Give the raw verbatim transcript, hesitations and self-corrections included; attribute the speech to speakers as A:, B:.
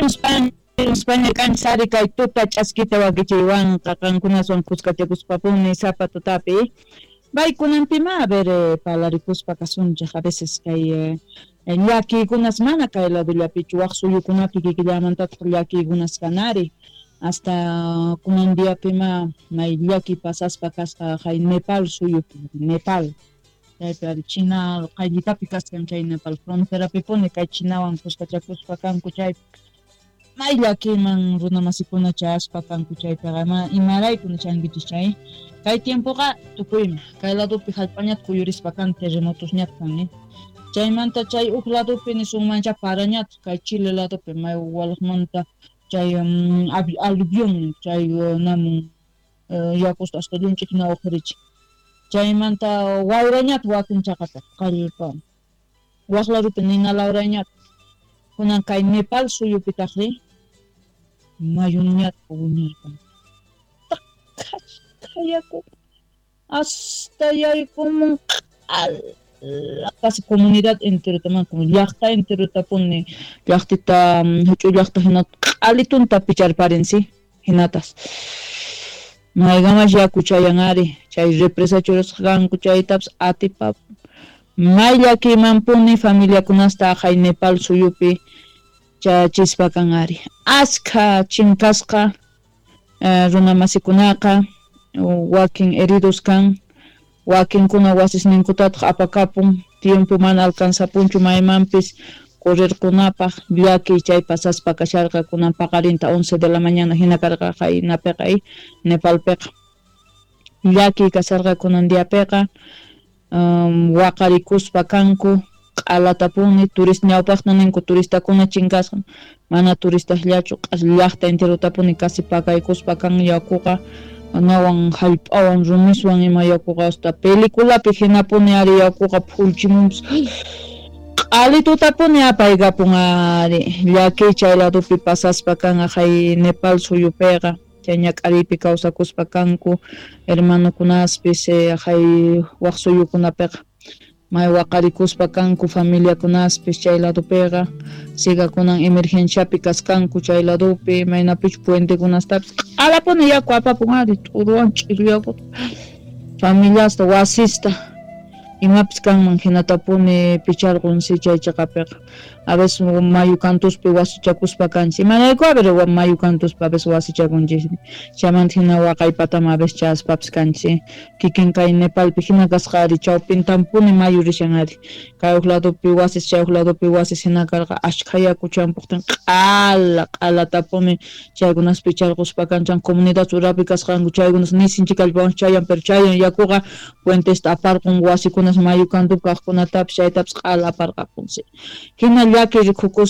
A: España kanchari kay tuta ch'askita wakichiywanqa qankunaswan kuskachakuspapuni sapa tutapi. Baykunanpima a ver eh, palarikuspa kasunchej a veces kay eh, llakiykunas mana kay ladollapichu waj suyukunapi kikillamantataq llakiykunas kanari hasta kunan diapima may llaki pasaspa kasqa kay Nepal suyupi Nepal chaypi ari China qayllitapi kaskan chay Nepal fronterapipuni kay Chinawan kuskachakuspa kanku chaypi may llakiyman runamasikuna chayaspa kanku chaypiqa ima imarayku nishankichis chay kay tiempoqa tukuyma kay ladopi hallp'añata kuyurispa kan terremotosñata kan eh chaymanta chay uj ladopi nisunmancha parañata kay Chile ladopi may walaqmanta chay um, aluvión chay uh, namun uh, yakusta hasta llunch'ikna uqhurichin chaymanta wayrañata wakin chaqata qallpa waq ladopi nina lawrayñata kunan kay Nepal suyupitaqri mayuñata wiñarpan yaku hasta yaykumun q'ala casi comunidad enterota como llaqta enterotapuni llaqtita huch'uy llaqta hina q'alitunta picharparin si hinatas maygamash yaku chayan ari chay represa churasqanku chaytapas atipapun may llakiymanpuni familiakunasta aqhay Nepal suyupi chachispa kan ari askha chinkasqa eh, runamasikunaqa wakin heridos kan wakinkuna wasisninkutataq apakapun tiempo mana alcanzapunchu maymanpis correrkunapaq llakiy chay pasaspa kasharqa kunan paqarinta once de la mañana hina karqa qaynapiqa Nepalpiqa llakiy kasarqa kunan diapiqa um, waqarikuspa kanku q'alatapuni turista ñawpaqta ninku turistakuna chinkasqa mana turistasllachu llaqta enterotapuni casi pakaykuspa kan yakuqa nawan hallp'awan rumiswan ima yakuqa hasta peliculapi hinapuni ari yakuqa phullchimunpas q'alitutapuni apaykapun ari llakiy chay ladopi pasaspa kan aqhay Nepal suyupiqa chay ñak'ariypi kawsakuspa kanku hermanokunaspis aqhay waq suyukunapiqa may waqarikuspa kanku familiakunaspis chay ladopiqa sigakunan emergenciapi kaskanku chay ladopi maynapichu puentekunastapis q'alapuni yaku apapun ari t'uruwan ch'iru yakuta familiasta wasista imapis kanman hinatapuni picharqunsi chay chaqapiqa a veces mayu kantuspi wasichakuspa kanchis imarayku a ver mayu kantuspi a veces wasichakunchis chaymanta hina waqaypatama a veces chayaspapis kanchis kikin kay Nepalpi hina kasqa ari chawpintampuni mayu rishan ari kay uj ladopi wasis chay uj ladopi wasis hina karqa ashkha yaku champuqtin q'ala q'alatapuni chaykunas picharquspa kanchan comunidad urapi kasqanku chaykunas nisinchik kallpawan chayan pero chayan yakuqa puentesta aparqun wasikunas mayu kantupi kaqkunatapis chaytapis q'ala aparqapunsi hina llaki rikukuspa